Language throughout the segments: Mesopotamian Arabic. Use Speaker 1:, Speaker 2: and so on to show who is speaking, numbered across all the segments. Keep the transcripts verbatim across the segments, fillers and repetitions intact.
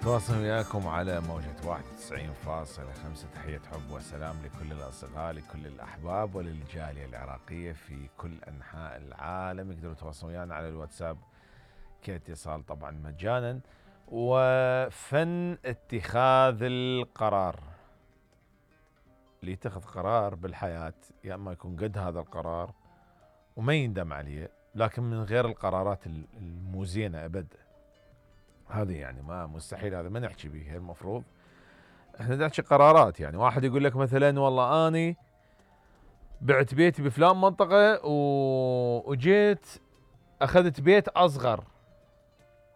Speaker 1: نتواصل وياكم على موجة واحد وتسعين فاصلة خمسة. تحية حب وسلام لكل الأصدقاء، لكل الأحباب وللجالية العراقية في كل أنحاء العالم. يقدروا يتواصلوا ويانا على الواتساب كاتصال طبعا مجانا. وفن اتخاذ القرار، اللي يتخذ قرار بالحياة يا اما يكون قد هذا القرار وما يندم عليه، لكن من غير القرارات المو زينة ابد. هذه يعني ما مستحيل، هذا ما نحكي به. المفروض احنا نحكي قرارات. يعني واحد يقول لك مثلا والله اني بعت بيتي بفلان منطقة وجيت اخذت بيت اصغر،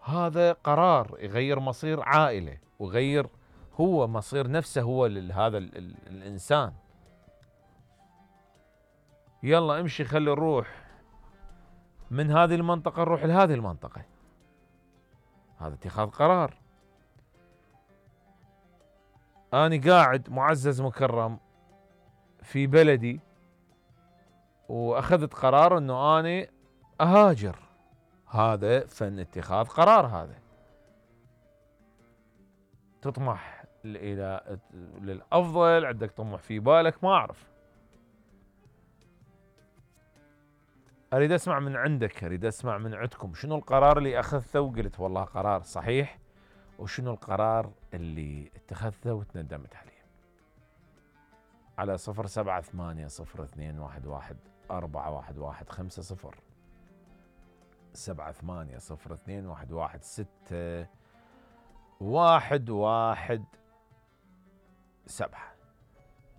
Speaker 1: هذا قرار يغير مصير عائلة ويغير هو مصير نفسه هو لهذا الانسان. يلا امشي خلي نروح من هذه المنطقة نروح لهذه المنطقة، هذا اتخاذ قرار. أنا قاعد معزز مكرم في بلدي وأخذت قرار أنه أنا أهاجر، هذا فن اتخاذ قرار. هذا تطمح إلى للأفضل، عندك طموح في بالك، ما أعرف. أريد أسمع من عندك، أريد أسمع من عندكم شنو القرار اللي أخذته وقلت والله قرار صحيح، وشنو القرار اللي اتخذته وتندمت عليه. على صفر سبعة ثمانية صفر اثنين واحد واحد أربعة واحد واحد خمسة صفر سبعة ثمانية صفر اثنين واحد واحد ستة واحد واحد سبعة.